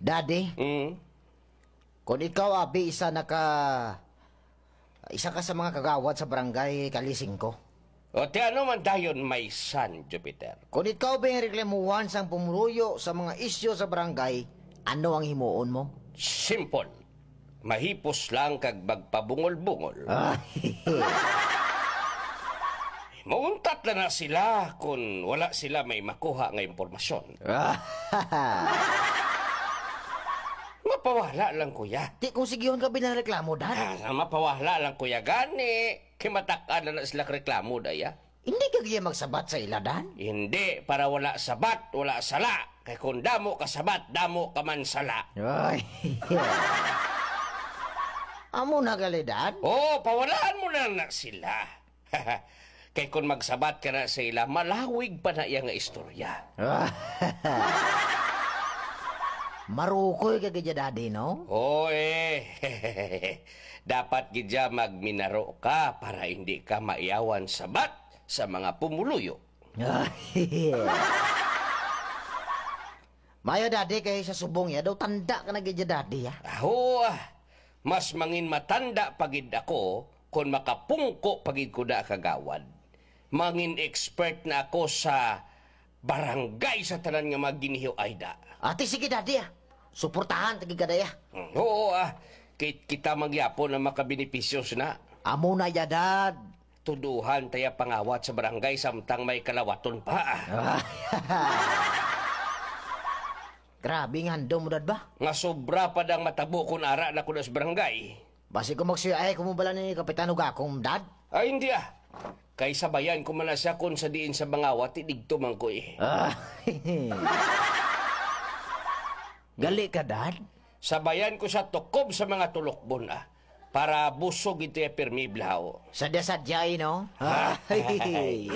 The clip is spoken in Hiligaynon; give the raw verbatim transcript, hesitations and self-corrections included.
Daddy, Mm. kung ikaw, abi, isa na ka, isa ka sa mga kagawad sa barangay Kalisingko. O, ti ano man dayon, my son, Jupiter? Kung ikaw, abi, ang reklamuhan sang pumuluyo sa mga isyu sa barangay, ano ang himuon mo? Simple. Mahipos lang kag magpabungol-bungol. Ah. Mauntat na na sila kung wala sila may makuha nga impormasyon. Mapawala lang, kuya. Ti kung sigihon ka binareklamo, Dad. Ah, mapawala lang, kuya. Gani, kimatak-an na na sila reklamo, daya. Hindi ka gaya magsabat sa ila, Dad? Hindi, para wala sabat, wala sala. Kay kung damo ka sabat, damo ka man sala. Ay. Amo na gali, Dad? Oo, pawalaan mo na na sila. Kay kung magsabat ka na sa ila, malawig pa na iya nga istorya. Marukoy ka gid, Daddy, no? Oo, eh. Dapat gid siya magminaro ka para hindi ka maiyawan sabat sa mga pumuluyo. Mayo, Daddy, kay sa subong ya daw tanda ka na gid, Daddy, ah. Aho, ah. Mas mangin matanda pa gid ako kon makapungko pa gid ko na kagawad. Mangin expert na ako sa barangay sa tanan nga mga ginihiw-ay da. Ate, sige, Daddy, ah. Suportahan ta gid ka, Day, ah. Mm, oo, ah. Kit kita mangyapon ang makabenepisyo sina. Amo na ya, Dad. Tuduhan taya pangawat sa barangay samtang may kalawaton pa, ah. Grabe nga handom mo, Dad, ba? Nga sobra pa dang matabo kun ara na ko na sa barangay. Basi ko magsiya, ay, kumubala ni Kapitan Ugakong, Dad? Ay, hindi, ah. Kay sabayan ko man na siya kun sa diin sa mangawat, ti digto man ko, eh. Ah. Gali ka, Dad? Sabayan ko siya tukob sa mga tulukbon, ah. Para busog ito yung pirmi blaho. Sadya-sadya, eh, no? Ay.